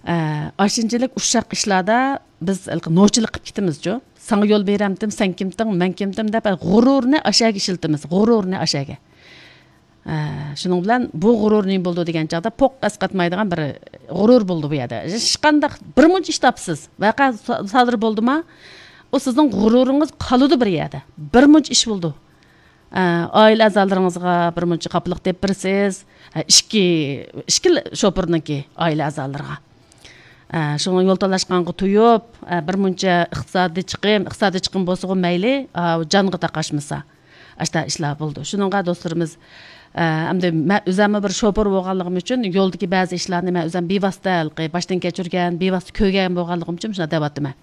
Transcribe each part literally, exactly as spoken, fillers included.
ئە، ئاشۇنچىلىك ئۇششاق ئىشلاردا بىز ھېلىقى نوچىلىق قىلىپ كېتىمىزچۇ. ساڭا يول بېرەمتىم، سەن كىمتىڭ، مەن كىمتىم دەپ، ھە، غۇرۇرنى ئاشەگە ئىشلىتىمىز، غۇرۇرنى ئاشەگە. ئە، شۇنىڭ بىلەن بۇ غۇرۇر نېمە بولىدۇ دېگەن چاغدا، پوق ئەسقاتمايدىغان بىر غۇرۇر بولىدۇ بۇ يەردە. ھېچقانداق بىر مۇنچە ئىش تاپسىز، ۋەقە سا-، سادىر بولدىما، ئۇ سىزنىڭ غۇرۇرىڭىز قالىدۇ بىر يەردە. بىر مۇنچە ئىش بولىدۇ. ئە، ئائىلە ئەزالىرىڭىزغا بىر مۇنچە خاپىلىق دەپ بېرىسىز. ئە، ئىككى، ئىككى شوپۇرنىڭكى ئائىلە ئەزالىرىغا. ئە، شۇڭا يول تالاشقانغا تويۇپ، ئە، بىر مۇنچە ئىقتىسادىي چىقىم، ئىقتىسادىي چىقىم بولسىغۇ مەيلى، ئا، جانغا تاقاشمىسا. ئاشتا ئىشلار بولىدۇ. شۇنىڭغا دوستلىرىمىز، ئە، ئەمدى مەن ئۆزەممۇ بىر شوپۇر بولغانلىقىم ئۈچۈن يولدىكى بەزى ئىشلارنى مەن ئۆزەم بىۋاسىتە ھېلىقى باشتىن كەچۈرگەن، بىۋاسىتە كۆرگەن بولغانلىقىم ئۈچۈن شۇنداق دەۋاتىمەن.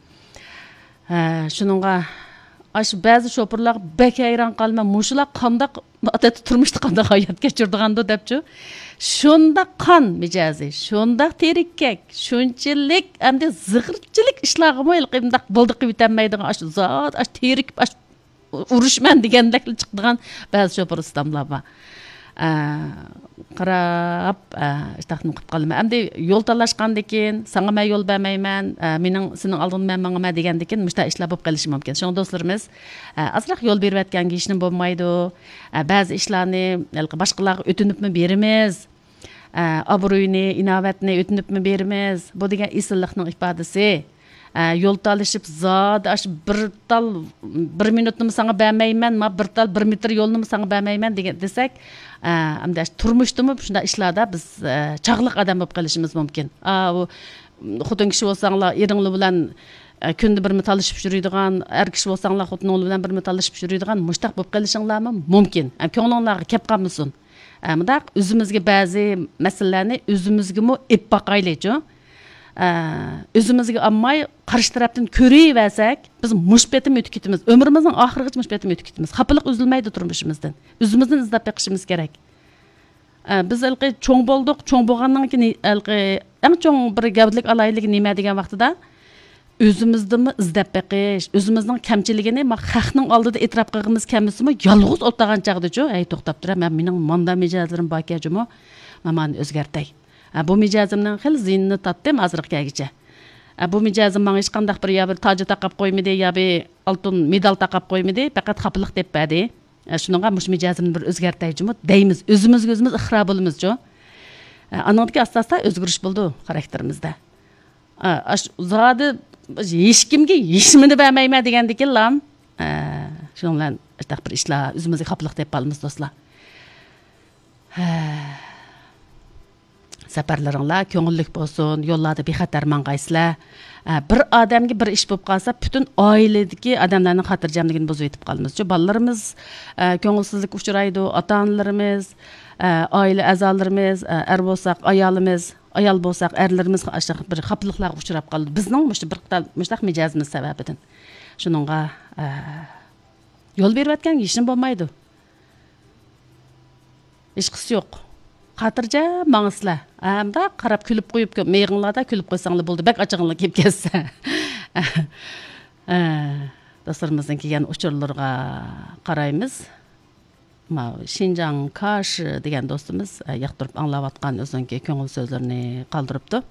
ھە، شۇنىڭغا ئاشۇ بەزى شوپۇرلارغا بەك ھەيران قالىمەن، مۇشۇلار قانداق ئادەتتە تۇرمۇشتا قانداق ھايات كەچۈرىدىغاندۇ دەپچۇ. شۇنداق قان مىجەزى، شۇنداق تېرىككەك، شۇنچىلىك ئەمدى زىغىرچىلىك ئىشلارغىمۇ ھېلىقى مۇنداق بولدى قىلىۋېتەلمەيدىغان، ئاشۇ زادى ئاشۇ تېرىكىپ، ئاشۇ ئۇرۇشىمەن دېگەندەكلا چىقىدىغان بەزى شوپۇر ئۇستاملار بار. ئە، قاراپ، ئە، ئىشتاقتىن قىپ قالىمەن. ئەمدى يول تالاشقاندىكىن، ساڭا مەن يول بەرمەيمەن، ئە، مېنىڭ، سېنىڭ ئالدىڭدا مەن ماڭىمەن دېگەندىكىن مۇشۇنداق ئىشلار بولۇپ قېلىشى مۇمكىن. شۇڭا دوستلىرىمىز، ئە، ئازراق يول بېرىۋەتكەنگە ھېچنېمە بولمايدۇ. ئە، بەزى ئىشلارنى ھېلىقى باشقىلارغا ئۆتۈنۈپمۇ بېرىمىز. ئە، ئابرۇينى، ئىناۋەتنى ئۆتۈنۈپمۇ بېرىمىز. بۇ دېگەن ئېسىللىقنىڭ ئىپادىسى. ئە، يول تالىشىپ زادى ئاشۇ بىر تال، بىر مىنۇتنىمۇ ساڭا بەرمەيمەن، ما بىر تال، بىر مېتىر يولنىمۇ ساڭا بەرمەيمەن دېگەن، دېسەك، ئە، ئەمدى ئاشۇ تۇرمۇشتىمۇ شۇنداق ئىشلاردا بىز، ئە، چاغلىق ئادەم بولۇپ قېلىشىمىز مۇمكىن. ئا، ئۇ خوتۇن كىشى بولساڭلار ئېرىڭلار بىلەن، ئە، كۈندە بىرمۇ تالىشىپ يۈرىدىغان، ئەر كىشى بولساڭلار خوتۇنۇڭلار بىلەن بىرمۇ تالىشىپ يۈرىدىغان مۇشتاق بولۇپ قېلىشىڭلارمۇ مۇمكىن. ئە، كۆڭلۈڭلارغا كەپ قالمىسۇن. ئە، مۇنداق ئۆزىمىزگە بەزى مەسىلىلەرنى ئۆزىمىزگىمۇ ئېلىپ باقايلىچۇ. ئە، ئۆزىمىزگە ئالماي، قارشى تەرەپتىن كۆرۈۋەرسەك، بىز مۇشۇ پېتىم ئۆتۈپ كېتىمىز. ئۆمرىمىزنىڭ ئاخىرىغىچە مۇشۇ پېتىم ئۆتۈپ كېتىمىز. خاپىلىق ئۈزۈلمەيدۇ تۇرمۇشىمىزدىن. ئۆزىمىزدىن ئىزدەپ بېقىشىمىز كېرەك. ئە، بىز ھېلىقى چوڭ بولدۇق، چوڭ بولغاندىن كېيىن ھېلىقى ئەڭ چوڭ بىر گەۋدىلىك ئالاھىدىلىكى نېمە دېگەن ۋاقتىدا، ئۆزىمىزدىنمۇ ئىزدەپ بېقىش، ئۆزىمىزنىڭ كەمچىلىكىنى ما خەقنىڭ ئالدىدا ئېتىراپ قىلغىمىز كەلمىسىمۇ، يالغۇز ئولتۇرغان چاغدىچۇ، ھەي، توختاپ تۇر، مەن، مېنىڭ ماندا مىجەزلىرىم باركەن جۇمۇ، مانا مانى ئۆزگەرتەي. ھە، بۇ مىجەزىمنىڭ خېلى زىيىنىنى تارتتىم ھازىرغا كەلگۈچە. ھە، بۇ مىجەزىم ماڭا ھېچقانداق بىر يا بىر تاجى تاقاپ قويمىدى، يا بىر ئالتۇن مېدال تاقاپ قويمىدى، پەقەت خاپىلىق دەپ بەردى. ئە، شۇنىڭغا مۇشۇ مىجەزىمنى بىر ئۆزگەرتەي جۇمۇ دەيمىز. ئۆزىمىزگە ئۆزىمىز ئىقرار بولىمىزچۇ. ئە، ئانىڭدىكى ئاستا-ئاستا ئۆزگىرىش بولىدۇ خاراكتېرىمىزدە. ئە، ئاش-، زادى ھېچكىمگە ھېچنېمىنى بەرمەيمەن دېگەندىكىنلا، ئە، شۇنىڭ بىلەن ئاشۇنداق بىر ئىشلار ئۆزىمىزگە خاپىلىق دەپ قالىمىز دوستلار. ھە. سەپەرلىرىڭلار كۆڭۈللۈك بولسۇن، يوللاردا بىخەتەر ماڭغايسىلەر. ئە، بىر ئادەمگە بىر ئىش بولۇپ قالسا، پۈتۈن ئائىلىدىكى ئادەملەرنىڭ خاتىرجەملىكىنى بۇزۇۋېتىپ قالىمىز. شۇ بالىلىرىمىز، ئە، كۆڭۈلسىزلىككە ئۇچرايدۇ، ئاتا-ئانىلىرىمىز، ئە، ئائىلە ئەزالىرىمىز، ئە، ئەر بولساق ئايالىمىز، ئايال بولساق ئەرلىرىمىز ئاشۇنداق بىر خاپىلىقلارغا ئۇچراپ قالىدۇ. بىزنىڭ مۇشۇ بىر خىل مۇشۇنداق مىجەزىمىز سەۋەبىدىن. شۇنىڭغا، ئە، يول بېرىۋەتكەنگە ھېچنېمە بولمايدۇ. ھېچقىسى يوق. خاتىرجەم ماڭىسىلەر. ئە، مۇنداق قاراپ كۈلۈپ قويۇپ، كۆ-، مېيىقىڭلاردا كۈلۈپ قويساڭلار بولدى. بەك ئاچچىقىڭلار كېلىپ كەتسە. ئە، دوستلىرىمىزنىڭ كەلگەن ئۇچۇرلىرىغا قارايمىز. ماۋۇ شىنجاڭ كاشى دېگەن دوستىمىز، ئە، ياقتۇرۇپ ئاڭلاۋاتقان ئۆزىنىڭكى كۆڭۈل سۆزلىرىنى قالدۇرۇپتۇ.